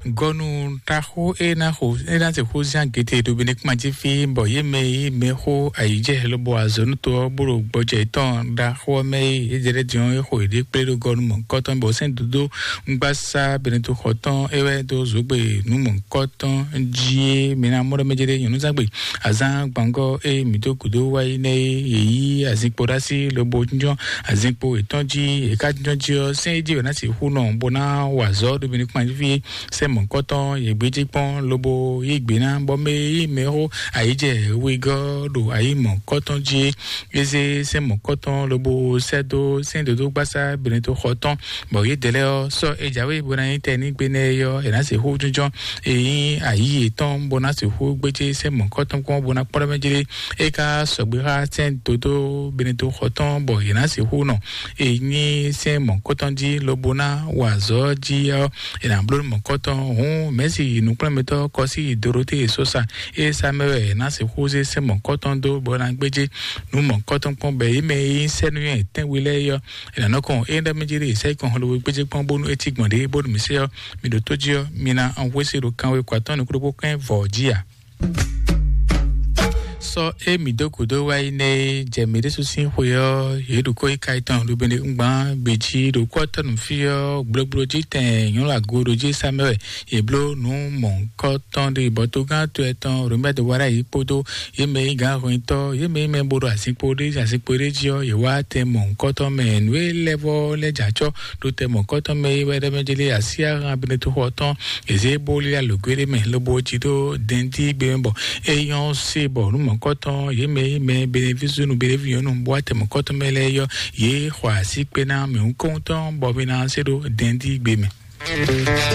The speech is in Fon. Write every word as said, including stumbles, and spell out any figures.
Gɔnu ɖaxó e ná xo e ná se xó zán gete ɖo Benekuma jí fí, bɔ yě mɛ e mɛ xó ayǐjɛ lobɔ azɔ̌nútɔ ɔ́ bó ɖo gbɔjɛ tɔn ɖaxó ɔ́ mɛ e yě jɛ ɖɛ́ din ɔ́, é xo yěɖée kplé ɖo gɔnu mɔ̌hunkɔtɔn, bɔ sɛ́n dodó ŋgbasá Benetoxɔ tɔn é wɛ dó zǒgbe nǔ mɔ̌hunkɔtɔn jí é. Mi ná mɔ ɖɔ mɛ jɛ ɖé nyɔ̌núzán gbe azán gbangɔ e mǐ dó gǔdo wá yi nɛ́ é, yě yí azinkpo ɖó así lobo jínjɔ́n azinkpo yětɔn jí. Yě ká jínjɔ́n jí ɔ́, sɛ́n é jí wɛ ná sixú nɔ bó ná wa azɔ̌ ɖo Benekuma jí fí é. Sɛ́n mɔ̌hunkɔtɔn yě gbéjé kpɔ́n lobo yí gbe ná, bɔ mɛ e yí mɛ xó ayǐjɛ wegɔ́ ɖo ayǐ mɔ̌hunkɔtɔn jí é. É zé sɛ́n mɔ̌hunkɔtɔn lobo sɛ́ dó sɛ́n dodó gbasá Benetoxɔ tɔn, bɔ yědɛɛ lɛ́ɛ ɔ́ sɔ́ é jǎwe bó ná nyí tɛnígbe nɛ́ é ɔ́, è nǎ sixú jínjɔ́n é nyí ayǐ yětɔn bó ná sixú gbéjé sɛ́n mɔ̌hunkɔtɔn kpɔ́n bó ná kpɔ́ ɖɔ mɛ jlé. É ka sɔgbe xá sɛ́n dodó Benetoxɔ tɔn, bɔ yě ná sixú nɔ é nyí sɛ́n mɔ̌hunkɔtɔn jí lobo ná wa azɔ̌ jí ɔ́, è nǎ bló mɔ̌hunkɔtɔn. Hǔn Mɛ̌si nǔkplɔ́nmɛtɔ́ Kɔsí Dorotéi Sosa é sá mɛ wɛ è nǎ sixú zé sɛ́n mɔ̌hunkɔtɔn dó bó ná gbéjé nǔ mɔ̌hunkɔtɔn kpɔ́n, bɔ yě mɛ e nyí sɛ́núnywɛ́ tɛ́nwe lɛ́ɛ é ɔ́, è nǎ nɔ kɔn é ɖɔ mɛ jí ɖe sɛ́ kɔn hɔnɖo gbéjé kpɔ́n bónú é cí gbɔn ɖě bónú mǐ se ɔ́, mi ɖo tó jí ɔ́, mi ná an hwésé ɖo kanwe kɔ atɔ́ɔ́n nukúɖokpó kɛ́n vɔ̌ jí a? Sɔ é mǐ dó gǔdo wá yi nɛ́ é jɛ mǐ ɖésú sín xwe ɔ́, yě ɖo kó yi ka tɔn ɖo bene ŋgbán gbe jí ɖo kú ɔ́ tɔ́ nǔ fí ɔ́, gblogblo jí tɛn nyɔ̌nu ago ɖo jí sá mɛ wɛ yě bló nǔ mɔ̌hunkɔtɔn ɖe, bɔ togán to ɛtɔn Romɛ́ dó wá ɖ'ayǐ kpódó yě mɛ e nyí gǎnhwɛntɔ́, yě mɛ e nyí mɛ bo ɖo azinkpo ɖé azinkpo ɖé jí ɔ́, yě wá tɛn mɔ̌hunkɔtɔn mɛ. Nǔ e lɛ́ vɔ́ lɛ́ jɛ acɔ́ ɖo tɛn mɔ̌hunkɔtɔn mɛ é wɛ ɖɔ mɛ jlé así ahan Benetoxɔ tɔn, è zě bó lé alǒgwé ɖé mɛ lobo jí ɖó dɛndígbe mɛ, bɔ é nyɔ́ se bɔ nǔ mɔ̌hunkɔtɔn yě mɛ e nyí mɛ benevísúnú beneví nyɔ̌nu bó wá tɛn mɔ̌hunkɔtɔn mɛ lɛ́ɛ yɔ́, yě xɔ así kpé ná mɛ ŋkɔ́ntɔn bɔ mi ná se ɖó dɛndígbe mɛ.